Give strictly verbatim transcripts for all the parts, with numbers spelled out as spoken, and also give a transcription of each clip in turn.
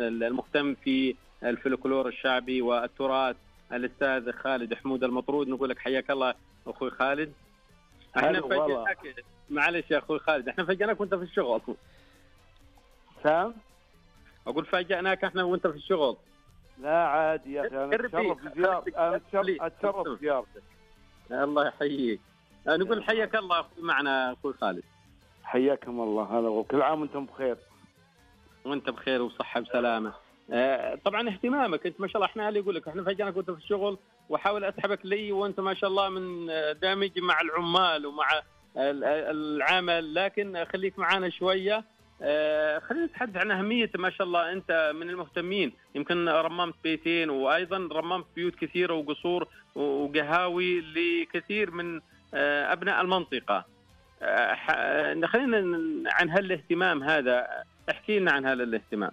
المهتم في الفلكلور الشعبي والتراث الأستاذ خالد حمود المطرود. نقول لك حياك الله أخوي خالد. احنا فاجئناك، معلش يا أخوي خالد، احنا فاجئناك وأنت في الشغل. سام؟ أقول فاجئناك احنا وأنت في الشغل. لا عادي يا أخي، أنا أتشرف بزيارتك، أنا أتشرف بزيارتك. الله يحييك. نقول حياك الله أخوي معنا أخوي خالد. حياكم الله، هذا وكل عام وأنتم بخير. وأنت بخير وصحة وسلامة. طبعا اهتمامك أنت ما شاء الله، احنا اللي يقول لك احنا فاجئناك وأنت في الشغل، وحاول أسحبك لي وأنت ما شاء الله من دامج مع العمال ومع العمل، لكن خليك معنا شوية. خلينا نتحدث عن أهمية ما شاء الله. أنت من المهتمين، يمكن رممت بيتين وأيضا رممت بيوت كثيرة وقصور وقهاوي لكثير من أبناء المنطقة. خلينا عن هالاهتمام هذا، احكي لنا عن هذا الاهتمام.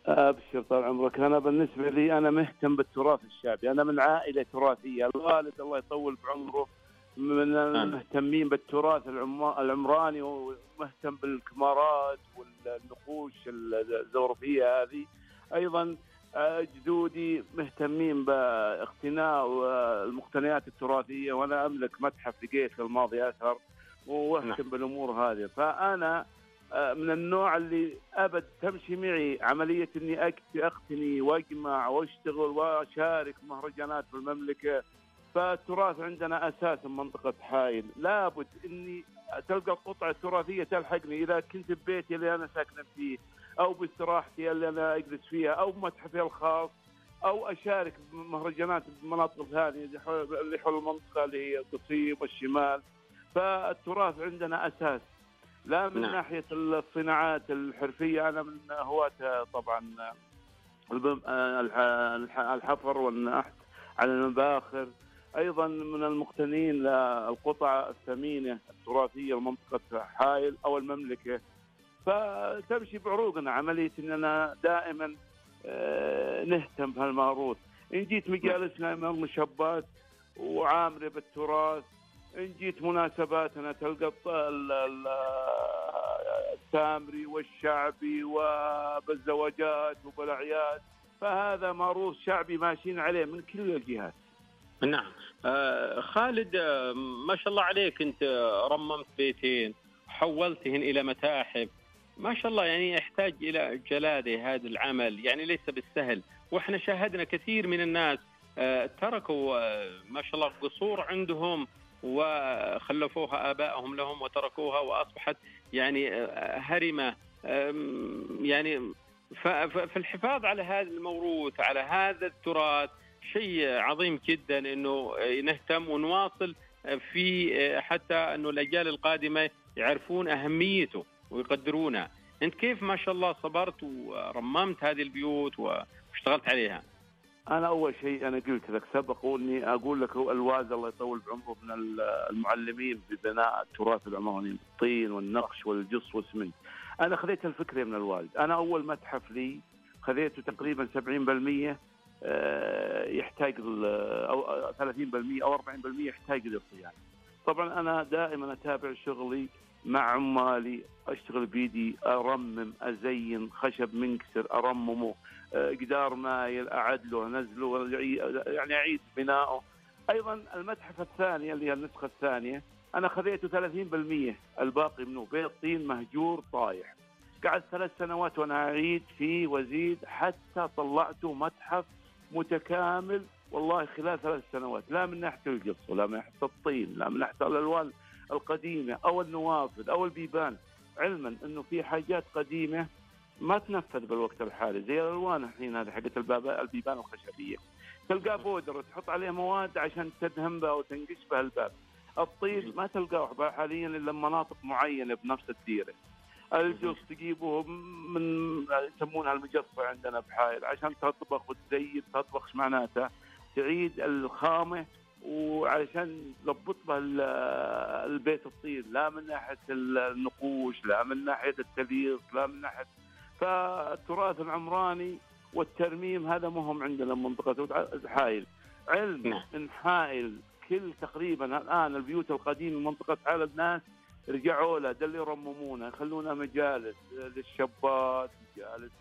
أبشر طال عمرك. أنا بالنسبة لي أنا مهتم بالتراث الشعبي، أنا من عائلة تراثية، الوالد الله يطول بعمره من المهتمين بالتراث العمراني، ومهتم بالكمارات والنقوش الزخرفية هذه. أيضا جدودي مهتمين باقتناء المقتنيات التراثية، وأنا أملك متحف لقيت الماضي أثر وأهتم بالأمور هذه. فأنا من النوع اللي أبد تمشي معي عملية إني أقتني وأجمع وأشتغل وأشارك مهرجانات في المملكة. فالتراث عندنا أساسا منطقة حائل، لابد إني تلقى قطعة تراثية تلحقني، إذا كنت ببيتي اللي أنا ساكن فيه، أو باستراحتي اللي أنا أجلس فيها، أو بمتحفي الخاص، أو أشارك بمهرجانات بمناطق ثانية اللي حول المنطقة اللي هي القصيم والشمال. فالتراث عندنا أساس، لا من نعم. ناحية الصناعات الحرفية أنا من هواة طبعا الحفر والنحت على المباخر، أيضا من المقتنين للقطع الثمينة التراثية لمنطقة حائل أو المملكة. فتمشي بعروقنا عملية أننا دائما نهتم بهالموروث. إن جيت مجالسنا من المشبات وعامرة بالتراث، إن جيت مناسباتنا تلقى التامري والشعبي وبالزواجات وبالأعياد. فهذا موروث شعبي ماشيين عليه من كل الجهات. نعم. آه خالد، آه ما شاء الله عليك، أنت رممت بيتين حولتهن إلى متاحف، ما شاء الله، يعني يحتاج إلى جلادة هذا العمل، يعني ليس بالسهل. وإحنا شاهدنا كثير من الناس آه تركوا آه ما شاء الله قصور عندهم وخلفوها آبائهم لهم وتركوها وأصبحت يعني آه هرمة. آه يعني فالحفاظ على هذا الموروث، على هذا التراث، شيء عظيم جدا إنه نهتم ونواصل في، حتى إنه الأجيال القادمة يعرفون أهميته ويقدرونها. أنت كيف ما شاء الله صبرت ورممت هذه البيوت واشتغلت عليها؟ أنا أول شيء أنا قلت لك سبق وإني أقول لك الوالد الله يطول بعمره من المعلمين ببناء التراث العماني، الطين والنقش والجص والسمنت. أنا خذيت الفكرة من الوالد. أنا أول متحف لي خذيته تقريبا سبعين بالمئة يحتاج أو ثلاثين بالمئة أو أربعين بالمئة يحتاج للصيانة. طبعا أنا دائما أتابع شغلي مع عمالي، أشتغل بيدي، أرمم، أزين خشب منكسر أرممه، جدار مايل أعدله أنزله، يعني أعيد بناؤه. أيضا المتحف الثاني اللي هي النسخة الثانية أنا خذيته ثلاثين بالمئة، الباقي منه بيت طين مهجور طايح. قعدت ثلاث سنوات وأنا أعيد فيه وزيد حتى طلعته متحف متكامل والله خلال ثلاث سنوات، لا من ناحية القص ولا من ناحية الطين، لا من ناحية الألوان القديمة أو النوافذ أو البيبان، علما أنه في حاجات قديمة ما تنفذ بالوقت الحالي، زي الألوان الحين هذه حقت البيبان الخشبية، تلقى بودر تحط عليه مواد عشان تدهن بها وتنقش بها الباب. الطين ما تلقاه حاليا إلا مناطق معينة بنفس الديرة. الجص تجيبه من يسمونها المجصة عندنا بحائل عشان تطبخ وتزيد، تطبخ معناتها تعيد الخامة وعشان تضبط بها البيت الطين، لا من ناحية النقوش، لا من ناحية التليق، لا من ناحية. فالتراث العمراني والترميم هذا مهم عندنا منطقة حائل. علم إن حائل كل تقريبا الآن البيوت القديمة منطقة حائل الناس رجعوا له، ده اللي يرممونه، يخلونا مجالس للشابات، مجالس